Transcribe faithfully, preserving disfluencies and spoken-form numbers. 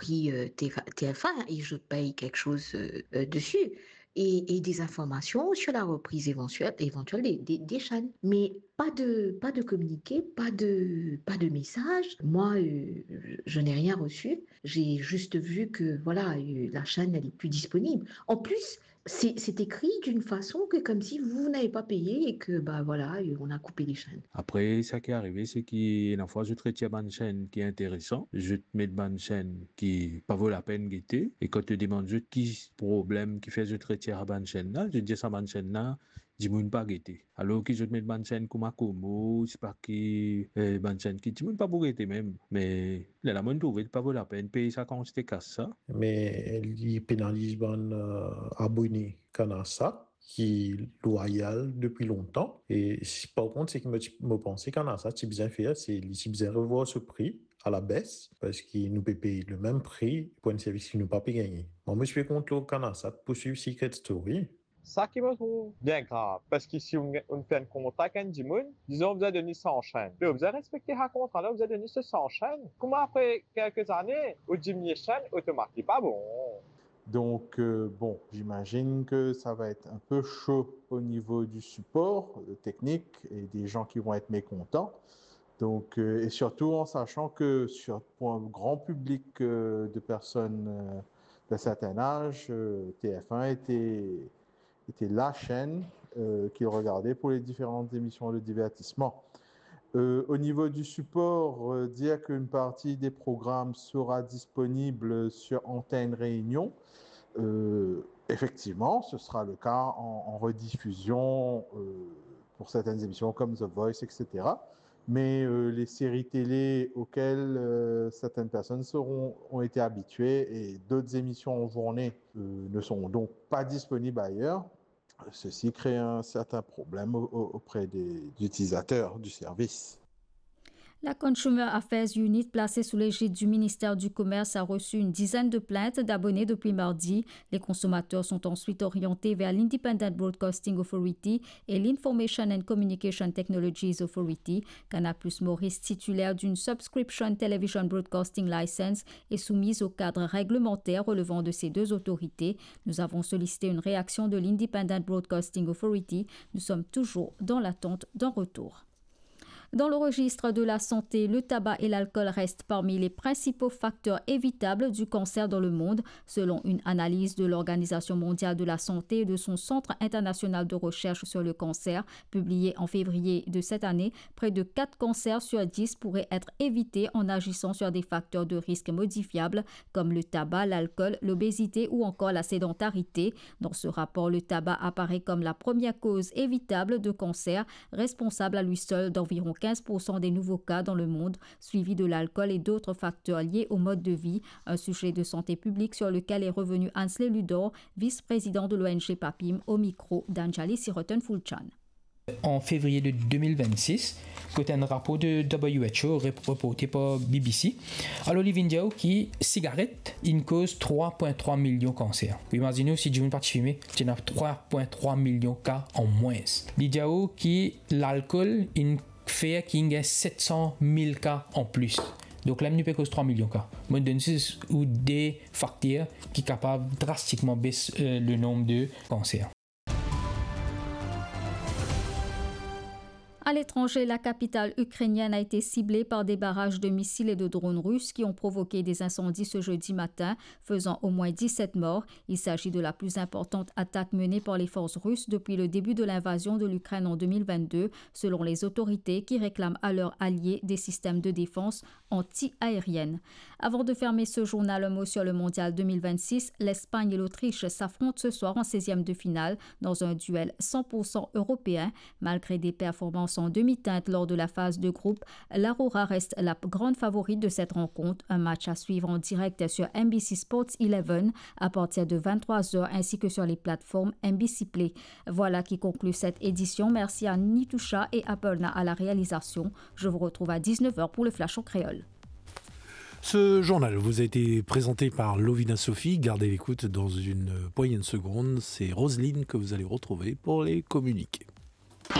Puis euh, T F un, et je paye quelque chose euh, euh, dessus. Et, et des informations sur la reprise éventuelle, éventuelle des, des, des chaînes. Mais pas de, pas de communiqué, pas de, pas de message. Moi, euh, je n'ai rien reçu. J'ai juste vu que voilà, euh, la chaîne, elle est plus disponible. En plus, c'est c'est écrit d'une façon que comme si vous n'avez pas payé et que bah voilà, euh, on a coupé les chaînes. Apre, sa ki arive, se ki ena fwa zot retir bann chaîne ki interesan, zot met bann chaîne ki pa vo lapenn gete, e kan to demann zot ki problem ki fer zot retir sa bann chaîne la, zot dir sa bann chaîne la, dimoun pa gete. Alor ki zot met bann chaîne kouma Komo, sepa ki, eh, bann chaîne ki dimoun pa pou gete mem. Me lerla mo'nn trouve li pa vo lapenn pey sa kantite kas sa. Me li penaliz bann, euh, abone Canalsat ki lwayal depi lontan. E si, par kont, seki mo ti, mo panse Canalsat ti bizin fer, se li ti bizin revwar so pri a la bes, parski nou pe pey le mem pri pou enn servis ki nou pa pe gagne. Mwa, mo ti pe kont lor Canalsat pou swiv Secret Story. Sa ki mo trouv bien grav, parski si ou, ou fer enn kontra ek enn dimoun, dizon ou bizin donn li san chaîne. Me ou bizin respekte sa kontra la, ou bizin donn li so san chaîne. Kouma apre kelke zane, ou diminie chaîne, otomatik pa bon. Donc, euh, bon, j'imagine que ça va être un peu chaud au niveau du support, euh, technique et des gens qui vont être mécontents. Donc, euh, et surtout en sachant que sur, pour un grand public, euh, de personnes, euh, d'un certain âge, euh, T F un était, était la chaîne, euh, qu'ils regardaient pour les différentes émissions de divertissement. Euh, au niveau du support, euh, dire qu'une partie des programmes sera disponible sur Antenne Réunion, euh, effectivement, ce sera le cas en, en rediffusion, euh, pour certaines émissions comme The Voice, et cetera. Mais, euh, les séries télé auxquelles, euh, certaines personnes seront, ont été habituées et d'autres émissions en journée, euh, ne seront donc pas disponibles ailleurs. Ceci crée un certain problème au, au, auprès des utilisateurs du service. La Consumer Affairs Unit, placée sous l'égide du ministère du Commerce, a reçu une dizaine de plaintes d'abonnés depuis mardi. Les consommateurs sont ensuite orientés vers l'Independent Broadcasting Authority et l'Information and Communication Technologies Authority. Canal Plus Maurice, titulaire d'une Subscription Television Broadcasting License, est soumise au cadre réglementaire relevant de ces deux autorités. Nous avons sollicité une réaction de l'Independent Broadcasting Authority. Nous sommes toujours dans l'attente d'un retour. Dans le registre de la santé, le tabac et l'alcool restent parmi les principaux facteurs évitables du cancer dans le monde. Selon une analyse de l'Organisation mondiale de la santé et de son Centre international de recherche sur le cancer, publiée en février de cette année, près de quatre cancers sur dix pourraient être évités en agissant sur des facteurs de risque modifiables comme le tabac, l'alcool, l'obésité ou encore la sédentarité. Dans ce rapport, le tabac apparaît comme la première cause évitable de cancer, responsable à lui seul d'environ quinze pour cent des nouveaux cas dans le monde, suivi de l'alcool et d'autres facteurs liés au mode de vie, un sujet de santé publique sur lequel est revenu Ansley Ludor, vice-président de l'O N G PAPIM, au micro d'Anjali Siroten Fulchan. An fevriye de de mil vennsis, kot enn rapor de W H O rep-, reporte par B B C, alor li vinn dir ou ki sigaret inn koz trwa pwin trwa milyon kanser. Ou imazinn ou si dimoun pa ti fime, ti ena trwa pwin trwa milyon ka an mwins. Li dir ou ki lalkol inn fer ki inn gagn set san mil ka an plis. Donk la nou pe koz trwa milyon ka. Mo donn zis ou de fakter ki kapav drastikman bes, euh, le nonb de kanser. À l'étranger, la capitale ukrainienne a été ciblée par des barrages de missiles et de drones russes qui ont provoqué des incendies ce jeudi matin, faisant au moins dix-sept morts. Il s'agit de la plus importante attaque menée par les forces russes depuis le début de l'invasion de l'Ukraine en deux mille vingt-deux, selon les autorités qui réclament à leurs alliés des systèmes de défense anti-aérienne. Avant de fermer ce journal, un mot sur le Mondial deux mille vingt-six. L'Espagne et l'Autriche s'affrontent ce soir en seizième de finale dans un duel cent pour cent européen. Malgré des performances en demi-teinte lors de la phase de groupe, l'Aurora reste la grande favorite de cette rencontre. Un match à suivre en direct sur N B C Sports Eleven à partir de vingt-trois heures ainsi que sur les plateformes N B C Play. Voilà qui conclut cette édition. Merci à Nitoucha et Aparna à la réalisation. Je vous retrouve à dix-neuf heures pour le Flash en créole. Ce journal vous a été présenté par Lovina Sophie. Gardez l'écoute, dans une poignée de secondes. C'est Roselyne que vous allez retrouver pour les communiqués.